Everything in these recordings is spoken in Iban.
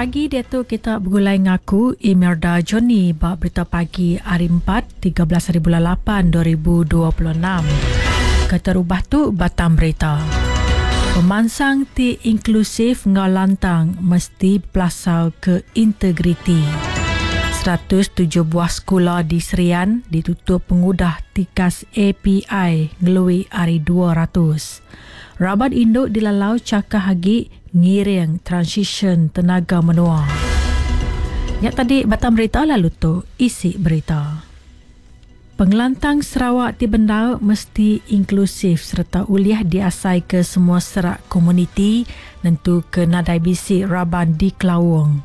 pagi diatu kita begulai ngaku Imelda Johnny ba berita pagi hari 4 13 hari bulan 8 2026. Keterubah tu batang berita. Pemansang ti inklusif enggau lantang mesti bepelasar ke integriti. 107 buah sekula di Serian ditutup pengudah tikas API ngelui ari 200. Raban indu dilalau chakah agi ngiring transisyen tenaga menua. Nya tadi batang berita lalu tu isi berita. Pengelantang Sarawak ti bendar mesti inklusif sereta ulih diasaika semua serak komuniti nentuka nadai bisi raban dikelaung.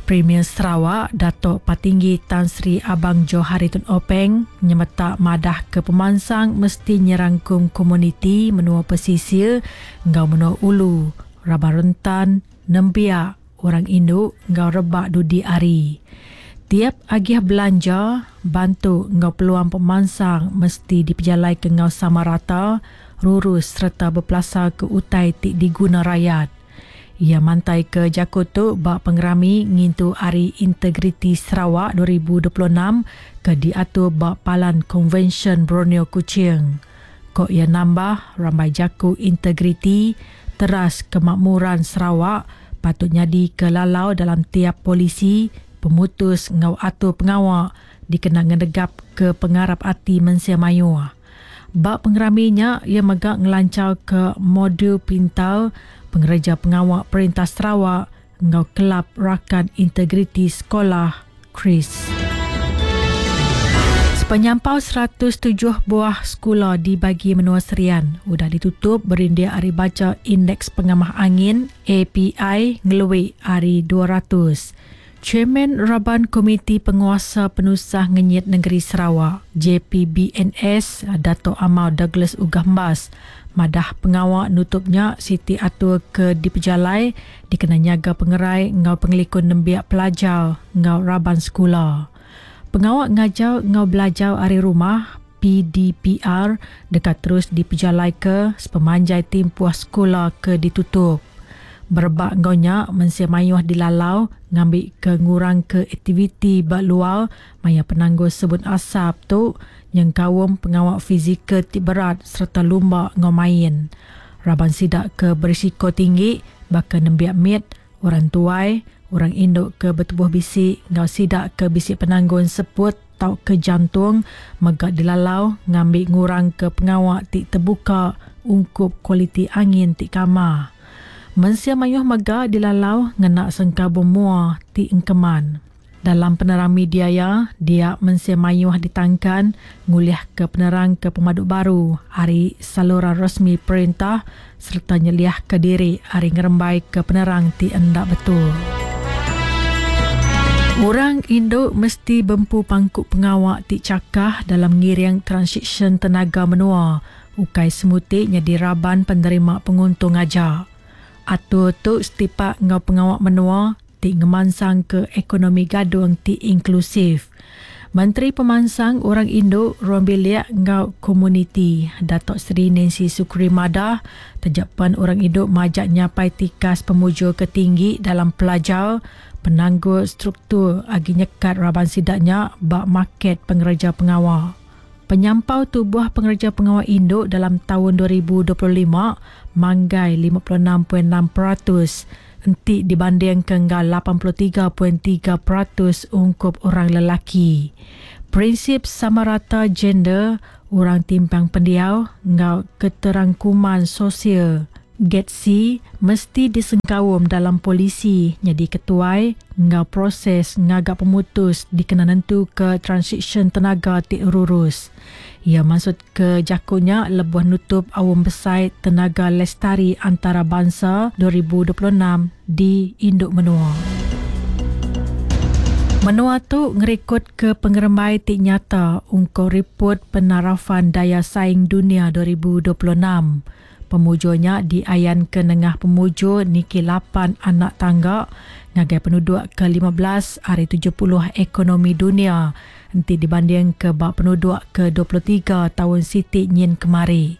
Premier Sarawak, Datuk Patinggi Tan Sri Abang Johari Tun Openg nyemetak madahka pemansang mesti nyerangkum komuniti menua pesisir enggau menua ulu, raban rentan, nembiak, orang indu enggau rebak dudi hari. Tiap agih belanja, bantu enggau peluang pemansang mesti dipejalaika enggau sama rata, rurus sereta bepelasarka utai ti diguna rayat. Iya mantaika jaku tu ba pengerami ngintu Hari Integriti Sarawak 2026 ke diatur ba Palan Konvensyen Borneo Kuching. Ko iya nambah, rambai jaku integriti, teras kemakmuran Sarawak patut nyadika lalau dalam tiap polisi, pemutus enggau atur pengawa dikena ngenegapka pengarap ati mensia mayuh. Ba pengerami nya, iya mega ngelancharka modul pintar pengereja pengawa Perintah Sarawak enggau Kelab Rakan Integriti Sekolah, KRIS. Sepenyampau 107 buah sekula di bagi menua Serian udah ditutup berindik ari bacha Indeks Pengamah Angin, API, ngelui ari 200. Chairman Raban Komiti Penguasa Penusah Ngenyit Nengeri Sarawak, JPBNS, Datuk Amar Douglas Uggah Embas madah pengawa nutup nya siti atur ke dipejalai dikena nyaga pengerai enggau pengelikun nembiak pelajar enggau raban sekula. Pengawa ngajar enggau belajar ari rumah, PDPR, deka terus dipejalaika sepemanjai timpuh sekula ke ditutup. Berebak enggau nya, mensia mayuh dilalau ngambika ngurangka aktiviti ba luar maya penanggul sebun asap tu nyengkaum pengawa fizikal ti berat sereta lumba enggau main. Raban sida ke berisiko tinggi baka nembiak mit, orang tuai, orang indu ke betubuh bisi enggau sida ke bisi penanggul seput tauka jantung mega dilalau ngambi ngurangka pengawa ti tebuka ungkup kualiti angin ti kamah. Mensia mayuh mega dilalau ngena sengkabung mua ti engkeman. Dalam penerang media iya, dia mensia mayuh ditangkan ngulihka penerang ke pemadu baru ari saluran resmi perintah sereta nyeliahka diri ari ngerembaika penerang ti enda betul. Orang indu mesti bempu pangku pengawa ti chakah dalam ngiring transisyen tenaga menua, ukai semuti nyadi raban penerima penguntung aja. Atur tu setipak enggau pengawa menua ti ngemansangka ekonomi gadung ti inklusif. Menteri Pemansang Orang Indu, Ruang Bilik enggau Komuniti, Datuk Seri Nancy Sukri madah, taja pen orang indu majak nyapai tikas pemujur ke tinggi dalam pelajar, penanggul struktur agi nyekat raban sida nya ba market pengereja pengawa. Penyampau tubuh pengereja pengawa indu dalam taun 2025 manggai 56.6% enti dibandingka enggau 83.3% ungkup orang lelaki. Prinsip sama rata gender, orang timpang pendiau enggau keterangkuman sosial, GEDSI, mesti disengkaum dalam polisi nyadi ketuai enggau proses ngaga pemutus dikena nentuka transisyen tenaga ti rurus. Iya mansutka jaku nya lebuh nutup Aum Besai Tenaga Lestari Antarabansa 2026 di Indu Menua. Menua tu ngerikodka pengerembai ti nyata ungkup Ripot Penarafan Daya Saing Dunia 2026. Pemujur nya diayanka nengah pemujur niki lapan anak tangga ngagai penuduk ke 15 ari 70 ekonomi dunia enti dibandingka ba penuduk ke 23 taun siti nyin kemari.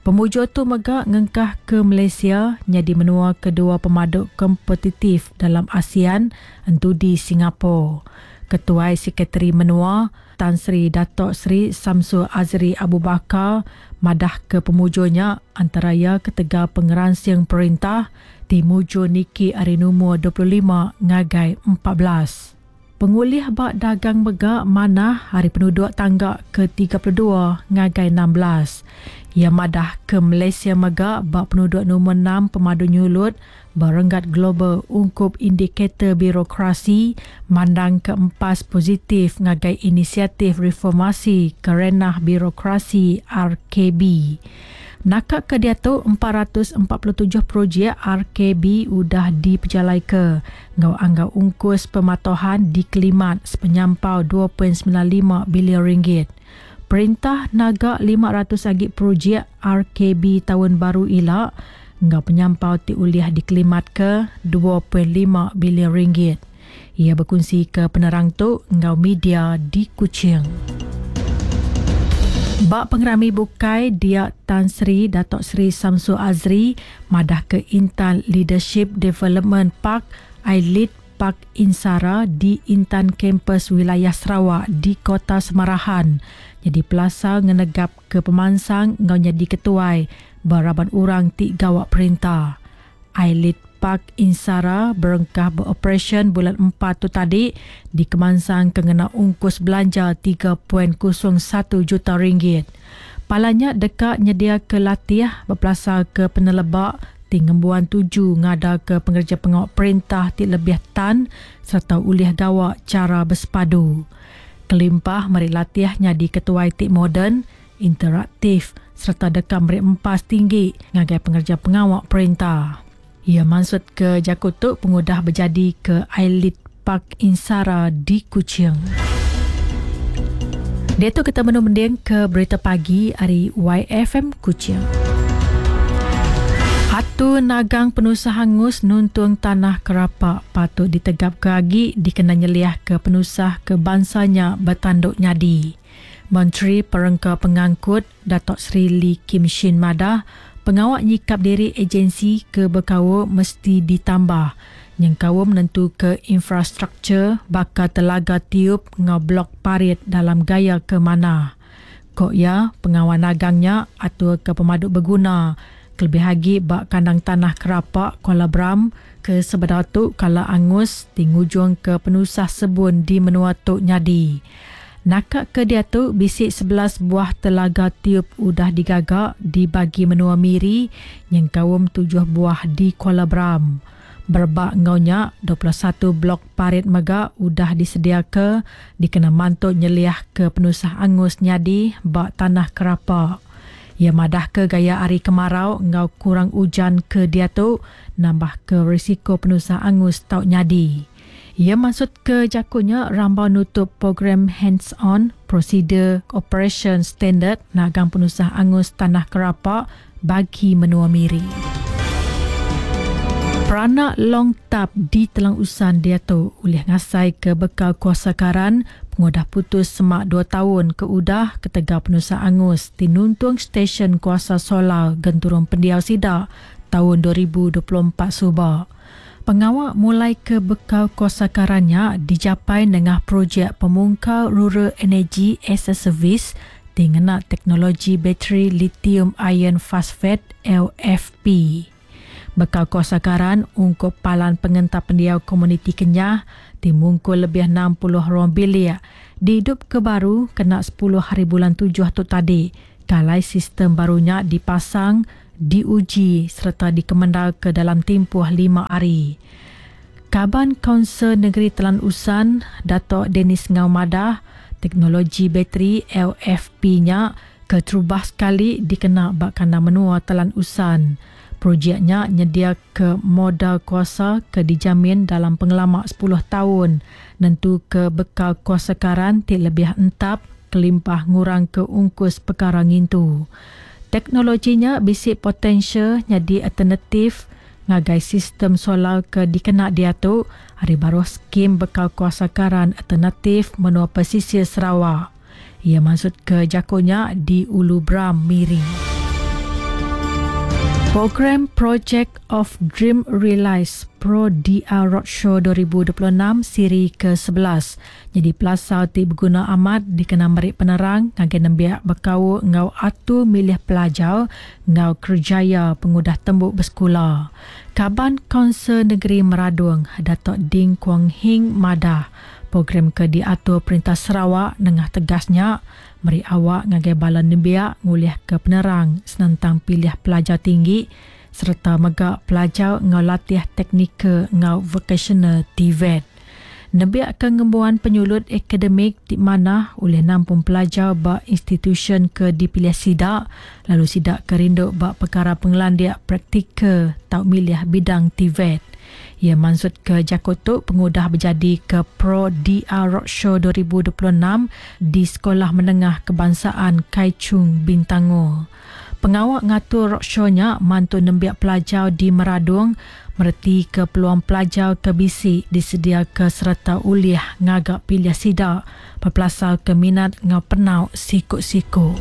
Pemujur tu mega ngengkah ke Malaysia nyadi menua kedua pemadu kompetitif dalam ASEAN entudi Singapore. Ketuai Sekretari Menua, Tan Sri Dato Sri Shamsul Azri Abu Bakar madah ke pemujur nya antara iya ketegal pengeransing perintah ti mujur niki ari numur 25 ngagai 14. Pengulih ba dagang mega manah ari penuduk tangga ke 32 ngagai 16. Iya madah ke Malaysia mega ba penuduk numur 6 pemadu nyulut ba renggat global ungkup indikator birokrasi mandang ke empas positif ngagai inisiatif reformasi kerenah birokrasi RKB. Naka ke diatu 447 projek RKB udah dipejalaika enggau anggau ungkus pematuhan dikelimat sepenyampau 2.95 bilion ringgit. Perintah naga 500 agi projek RKB taun baru ila enggau penyampau ti ulih dikelimatka 2.5 bilion ringgit. Iya bekunsi ke penerang tu enggau media di Kuching. Ba pengerami bukai dia Tan Sri Dato Sri Shamsul Azri madah ke Intan Leadership Development Park iLead Park Insara di Intan Kampus Wilayah Sarawak di Kota Semarahan jadi pelasar ngenegap ke pemansang enggau nyadi ketuai beraban orang ti gawak perintah. iLead Park Insara berengkah beroperasyen bulan 4 tu tadi di Kemansang ke ngena ungkus belanja 3.01 juta ringgit. Palanya deka nyedia ke latih berpelasar ke penelebak ti ngembuan tuju ngada ke pengerja pengawak perintah ti lebih tan serta ulih gawak cara bersepadu. Kelimpah meri latih nyadi ketuai ti moden, interaktif serta deka meri empas tinggi ngagai pengerja pengawak perintah. Ia maksud ke Jakutuk pengudah berjadi ke iLead Park Insara di Kuching. Dia tu kita menumending ke berita pagi hari YFM Kuching. Atu nagang penusah hangus nuntung tanah kerapak patut ditegap ke agi dikena nyeliah ke penusah ke bangsanya bertanduk nyadi. Menteri Perengka Pengangkut Datuk Seri Lee Kim Shin madah pengawak nyikap diri agensi ke berkaul mesti ditambah. Nyengkawum menentu ke infrastruktur bakal telaga tiup ngau blok parit dalam gaya ke mana. Kok ya, pengawal nagangnya atur ke pemaduk berguna. Kelebih lagi bak kandang tanah kerapak Kuala Bram ke sebedau tu kala angus tingujung ke penusah sebun di menua tok nyadi. Nakak ke dia tu bisik 11 buah telaga tiup udah digagak dibagi menua Miri nyengkaum 7 buah di Kuala Bram. Berbak ngaunya 21 blok parit mega udah disediaka dikena mantu nyeliah ke penusah angus nyadi bak tanah kerapak. Ia madah ke gaya hari kemarau ngau kurang hujan ke dia tu nambah ke risiko penusah angus tau nyadi. Ia maksud ke jakunya rambau nutup program hands-on prosedur operation standard nagang penusah angus tanah kerapak bagi menua Miri. Peranak Long Tap di Telang Usan dia tu ulih ngasai ke bekal kuasa karan pengudah putus semak 2 tahun ke udah ketegal penusah angus di nuntung stesen kuasa solar Genturung Pendiau Sidak tahun 2024 subak. Pengawak mulai ke bekal kuasa karannya dicapai dengan projek pemungkal Rural Energy as a Service dengan teknologi bateri lithium iron phosphate LFP. Bekal kuasa karan ungkup palan pengentar pendiau komuniti Kenyah dimungkul lebih 60 ruang bilik dihidup ke baru kena 10 hari bulan 7 tu tadi. Kalai sistem barunya dipasang, diuji serta dikemendal ke dalam tempoh 5 hari. Kaban Kaunsil Negeri Telang Usan, Dato' Dennis Ngau madah, teknologi bateri LFP-nya keterubah sekali dikena bak kandang menua Telang Usan. Projeknya nyedia ke modal kuasa ke dijamin dalam pengelamak 10 tahun nentu ke bekal kuasa karan ti lebih entap kelimpah ngurang ke ungkus perkara ngintu. Teknologinya bisik potensial jadi alternatif ngagai sistem solar ke dikena dia tu hari baru skim bekal kuasa karan alternatif menua pesisir Sarawak. Ia maksud ke jakonya di Ulu Bram Miri. Program Project of Dream Realized Pro DR Roadshow 2026 siri ke-11 nyadi pelasar ti beguna amat dikena meri penerang ngagai nembiak bekaul enggau atur milih pelajar enggau kerejaya pengudah tembu besekula. Kaban Kaunsil Negeri Meradong, Datuk Ding Kuong Hing madah, program ke diatur Perintah Sarawak nengah tegas nya meri awak ngagai bala nembiak ngulihka penerang senentang pilih pelajar tinggi sereta mega pelajar enggau latih teknikal enggau vokasional, TVET. Nembiak ke ngembuan penyulut akademik ti manah ulih nampung pelajar ba institusyen ke dipilih sida lalu sida ke rindu ba pekara pengelandik praktikal tau milih bidang TVET. Iya mansutka jaku tu pengudah bejadika Pro DR Roadshow 2026 di Sekolah Menengah Kebangsaan Kai Chung Bintangor. Pengawa ngatur roadshow nya mantu nembiak pelajar di Meradong meretika peluang pelajar ke bisi disediaka sereta ulih ngaga pilih sida bepelasarka minat enggau penau siku-siku.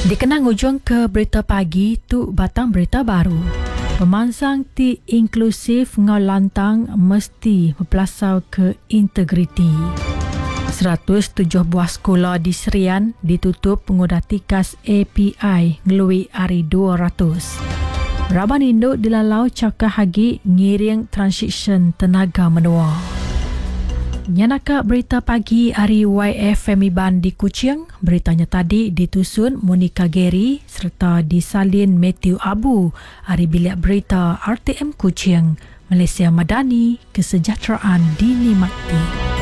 Dikena ngujungka berita pagi tu batang berita baru. Pemansang ti inklusif enggau lantang mesti bepelasarka integriti. 107 buah sekula di Serian ditutup pengudah tikas API ngelui ari 200. Raban indu dilalau chakah agi ngiring transisyen tenaga menua. Nya naka berita pagi ari YFM Iban di Kuching. Berita nya tadi ditusun Monica Gary sereta disalin Matthew Abu ari Bilik Berita RTM Kuching. Malaysia Madani, Kesejahteraan Dinikmati.